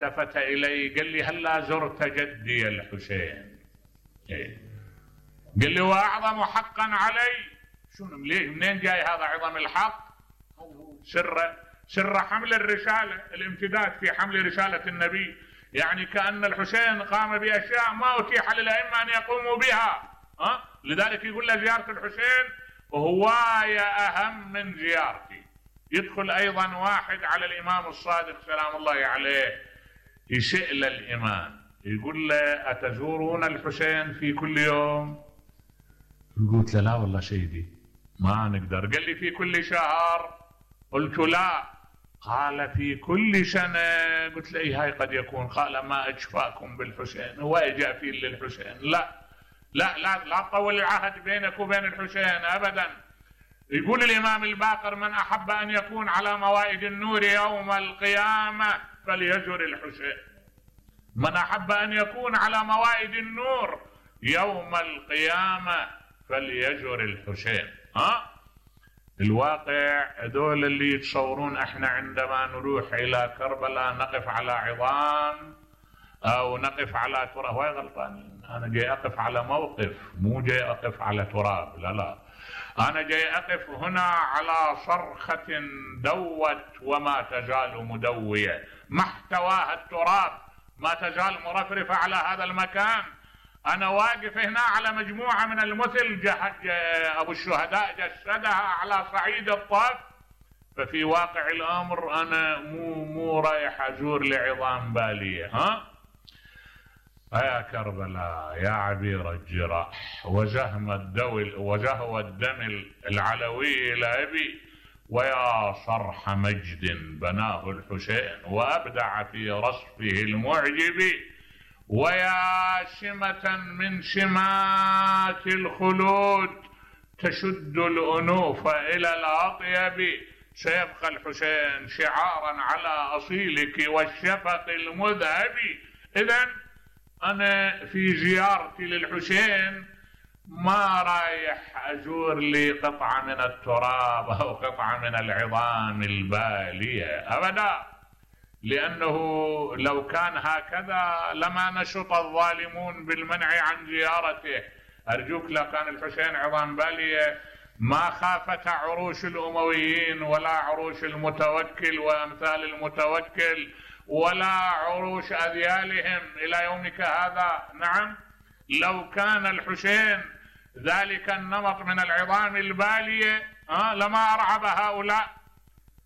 التفت الي قال لي هلا زرت جدي الحسين؟ قال لي واعظم حقا علي. شنو منين جاي هذا عظم الحق؟ سر حمل الرسالة، الامتداد في حمل رسالة النبي. يعني كأن الحسين قام بأشياء ما أتيح للأئمة أن يقوموا بها. لذلك يقول له زيارة الحسين هواية أهم من زيارتي. يدخل أيضا واحد على الإمام الصادق سلام الله عليه يسأل الإمام، يقول له أتزورون الحسين في كل يوم؟ قلت له لا والله سيدي ما نقدر. قال لي في كل شهر؟ قلت لا. قال في كل سنة؟ قلت له إيه هاي قد يكون. قال ما أجفاكم بالحسين، هو إجا فيه للحسين. لا لا لا لا تطول العهد بينك وبين الحسين أبدا. يقول الإمام الباقر من أحب أن يكون على موائد النور يوم القيامة فليزر الحسين. من أحب أن يكون على موائد النور يوم القيامة فليزر الحسين. الواقع هذول اللي يتصورون احنا عندما نروح الى كربلاء نقف على عظام او نقف على تراب، هاي غلطانين. انا جاي اقف على موقف، مو جاي اقف على تراب. لا لا، انا جاي اقف هنا على صرخة دوت وما تزال مدوية، ما احتواها التراب، ما تزال مرفرفة على هذا المكان. أنا واقف هنا على مجموعة من المثل أبو الشهداء جسدها على صعيد الطف. ففي واقع الأمر أنا مو رايح أزور لعظام بالية. يا كربلاء يا عبير الجراح وزهو الدم العلوي لأبي، ويا صرح مجد بناه الحسين وأبدع في رصفه المعجب، ويا سمة من سمات الخلود تشد الأنوف إلى الأطيب. سيبقى الحسين شعارا على أصيلك والشفق المذهب. إذن أنا في زيارتي للحسين ما رايح أزور لي قطعة من التراب أو قطعة من العظام البالية أبدا، لأنه لو كان هكذا لما نشط الظالمون بالمنع عن زيارته. أرجوك لو كان الحسين عظام بالية ما خافت عروش الأمويين ولا عروش المتوكل وأمثال المتوكل ولا عروش أذيالهم إلى يومك هذا. نعم، لو كان الحسين ذلك النمط من العظام البالية لما أرعب هؤلاء،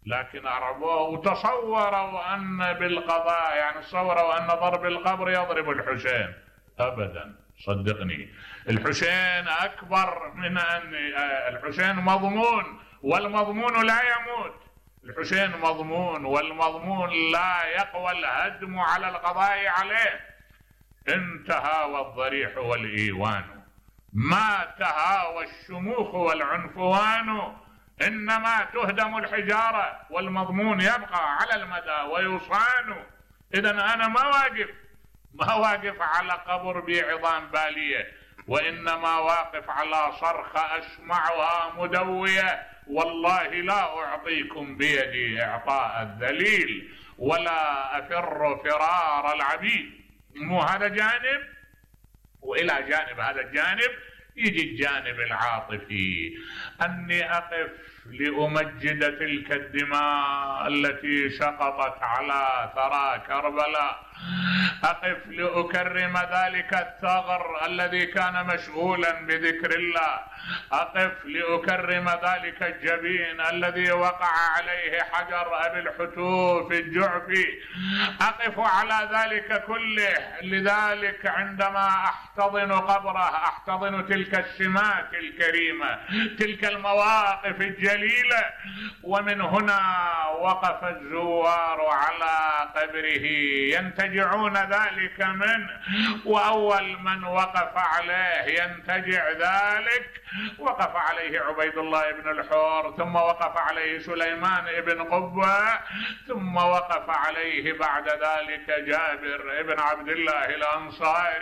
لكن أرعبوه وتصوروا أن بالقضاء، يعني تصوروا أن ضرب القبر يضرب الحسين. أبدا، صدقني الحسين أكبر من أن الحسين مضمون، والمضمون لا يموت. الحسين مضمون، والمضمون لا يقوى الهدم على القضاء عليه. انتهى الضريح والإيوان، ما تهاوى الشموخ والعنفوان، إنما تهدم الحجارة والمضمون يبقى على المدى ويصان. إذن أنا ما واقف على قبر بعظام بالية، وإنما واقف على صرخة أسمعها مدوية. والله لا أعطيكم بيدي إعطاء الذليل ولا أفر فرار العبيد. مو هذا جانب، وإلى جانب هذا الجانب يجي الجانب العاطفي، أني أقف لأمجد تلك الدماء التي سقطت على ثرى كربلاء، أقف لأكرم ذلك الثغر الذي كان مشغولا بذكر الله، أقف لأكرم ذلك الجبين الذي وقع عليه حجر أبي الحتوف الجعفي، أقف على ذلك كله. لذلك عندما أحتضن قبره أحتضن تلك السمات الكريمة، تلك المواقف الجليلة. ومن هنا وقف الزوار على قبره ينتجعون ذلك منه، وأول من وقف عليه ينتجع ذلك وقف عليه عبيد الله بن الحور، ثم وقف عليه سليمان بن قبة، ثم وقف عليه بعد ذلك جابر بن عبد الله الأنصاري.